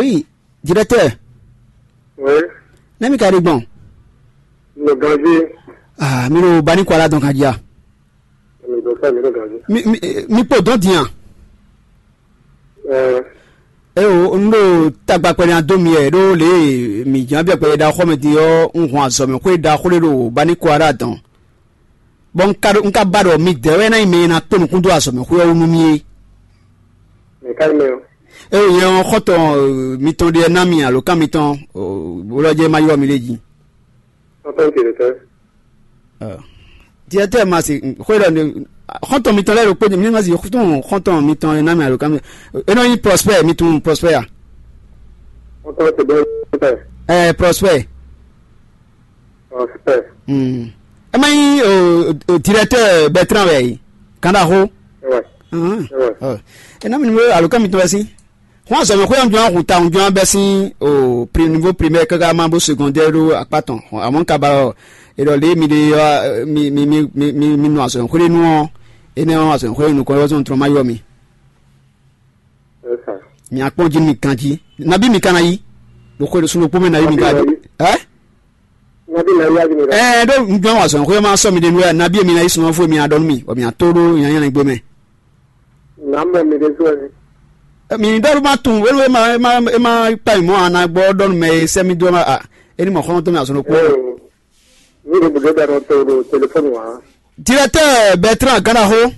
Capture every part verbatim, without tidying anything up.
Oui, directeur. Oui. Nɛ́ mi ka ɖe gbɔn? Nɔ ganjí. Ah, mi ɖo Bani Kuala dɔn kan jí a? Mi ɖo fɛn mi ɖo ganjí. Mi mi mi kpo dɔn din a? Ɛɛ. Eo, un ɖo tagba kpɛɖé ná dó mi wɛ ɖó lě e mǐ ján bia kpɛɖé ɖaxó mɛ din ɔ́, un hɔn azɔ̌ mɛ xwé ɖaxó ɖé ɖo Bani Kuala dɔn. Bɔ un ka ɖo un ka ba ɖɔ midɛɛ wɛ ná nyí mɛ e ná kpé nukún dó azɔ̌ mɛ xwé ɔ́ wú nú mì é. Mɛ ka nyí mɛ ɔ́? Eo nyɛ ɔ́ xɔ́ntɔn eh, mitɔn ɖe ná mi alǒkan mitɔn wlɔ́jɛ́ ma ylɔ́ mi lé jí. Xɔ́ntɔn ce ɖe tɛ́? Directeur ma se xwé ɖɔ ne xɔ́ntɔn mitɔn lɛ́ɛ ɖo kpé mi ma se tunun xɔ́ntɔn mitɔn e ná mi alǒkan mi. E nɔ nyí Prosper mi tunun Prosper a? Xɔ́ntɔn ce ɖe tɛ́? Ɛɛ Prosper. Prosper. Hmm. Ɛ má nyí o, o, directeur Bertrand wɛ yi. Kan ɖaxó. Ɛwɛ. Ahán. Ɛwɛ. Ɔ. Ɛ ná mi nu alǒkan mitɔn wɛ sín. Xɔ́n azɔ̌mɛxwé ɔ́, un jló ná hun ta, un jló ná bɛ́ sín o pri niveau primaire káká má bó secondaire ɖó akpá tɔn. Amɔ̌ un ka ba ɔ, è ɖɔ lě mi ɖe ɔ́, mi mi mi mi mi mi nɔ azɔ̌mɛxwé ɖé nu ɔ́, énɛ́ ɔ́ azɔ̌mɛxwé ɖé nukɔn ɔ́ zɔn trɔn má ylɔ́ mi. Ɛ sa. Mi akpɔ́n jí nú mi ganjí. Nabí mi ka ná yí? Ɖo xwe ɖo sun ɖokpó mɛ nabí mi ka Nabí ná yí. Ɛ? Nabí ná yí agi mi ɖɔ. Ɛ ɖó un jló ná azɔ̌mɛxwé ɔ́ má sɔ́ mi ɖe nú wɛ nabí mi ná yí sun ɔ́ fó mi ná ɖɔ nú mi, bɔ mi ná tó ɖó nyanya gbé mɛ. Nǎ mɔ mi ɖésú wɛ. Mi ɖɔ ló má tunwun wélu e ma e ma e ma kpa nyi mɔ̌ a na gbɔ ɖɔ nú mɛ e sɛ́ mì dó ɔ́ a é ní mɔ xɔ́ntɔn mì azɔn ɖokpó. Ee, mi ɖo bǔdó ɖɔ nɔ to ɖo telefɔni wa. Directeur Bertrand Ganaxo.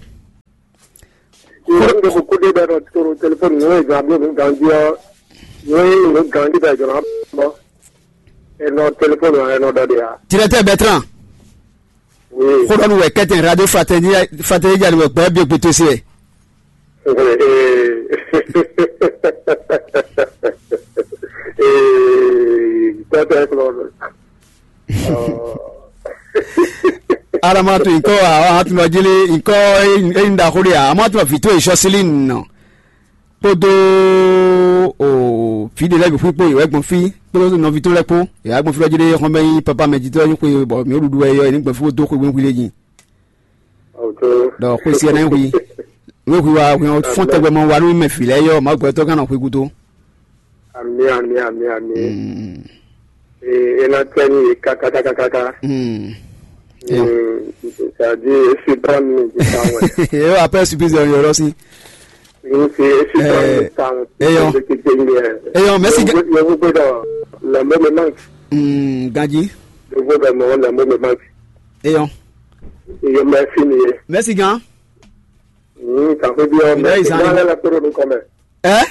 Ìwé mi ɖo kúkú ɖé ɖɔ nɔ to ɖo telefɔni nú ìgbà bí mi ganjí ɔ́, nú ìlú ganjí bɛ jɔ̀nà bɔ. Enɔ telefɔni wa enɔ ɖɔ ɖe ya. Directeur Bertrand. Oui. Xó ɖɔ nú wɛ kɛ́tɛn radio fraternité fraternité jali wɛ gbɛ bí gbé tó se wɛ. Ee. Ee, tɔtɛ kplɔ. Alama to nkɔ a a tun lɔ jeli nkɔ e n da xó de a a ma tun lɔ vito e sɔsili nɔ kpódó o fí ɖé lɛ́ɛ bǐ xwí kpó yě wɛ gbɔn fí kpódó nɔví tɔn lɛ́ɛ kpó yě wá gbɔn fí lɔ jí ɖé xɔn bɛ nyí papa mɛ jitɔ́ nyí xwe bɔ mǐ ɖuɖu wɛ yɔ yě ní gbɔn fí kpódó xwe gbɛn xwí lé jí. Ɖɔ xwe siɛ ná hu. Wé hu wa hu fɔ́n tɛgbɛ mɔ wa nú mɛ vǐ lɛ́ɛ yɔ Mawu gbɛtɔ́ gán nɔ xwe gúdo. Ami ami ami ami. Ee, ena tɛ ni ye kakakakaka. Mm. Ee, c'est-à-dire esi dɔn ni di kan wɛ. Yóò après surprise yɔrɔ yɔrɔ si. Ni se esi dɔn ni di kan wɛ. Eyɔn. Eyɔn mɛsi. Yóò gbé dɔ lɛmbo mi manque. Mm, ganji. Yóò gbé dɔ mɔ lɛmbo mi manque. Eyɔn. Eyɔn mɛsi ni ye. Mɛsi gan. Mm, kan ko bi yɔ mɛsi gan lɛ la koro nu kɔmɛ. Ɛ.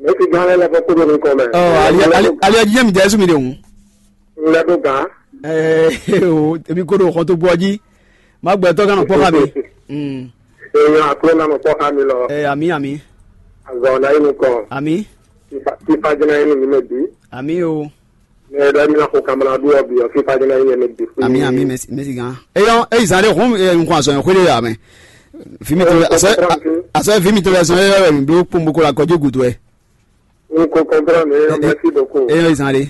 Mɛ ti gán lɛ́ lɛ́ fɔ kúrò ní kɔmɛ. Ɔ ali ali ali ɔdzi jẹ́ mi jẹ́ sumi de hùn. Ŋlɛ tó gán. Ɛɛ o èmi kó do xɔ tó bọ́ jí má gbẹ tọ́ gánà kpọ́ ká mi. Mm. Èèyàn àkúrò náà mọ̀ kpọ́ ká mi lọ. Ɛ àmì àmì Àgbà ọ̀nà inú kan. Àmì Fífa jẹ́ náà inú mi mẹ́ bí. Àmì o. Mɛ ɖɔ mi na xɔ kamla ɖo ɔbi ɔ fífa jɛ na yɛ mɛ bi fún. Àmì àmì mɛsi mɛsi gan. Eyɔn eyi zan ɖe hɔn ɛ nkun azɔn xwé ɖe yà mɛ. Fi mi tɔn asɔ asɔ fi mi tɔn bɛ zɔn yɛ yɛ mi blo kpɔn boko la kɔjú gudu ɛ. N ko kɔntrɔn mi yɔ mɛsi boko. Eyɔn eyi zan ɖe.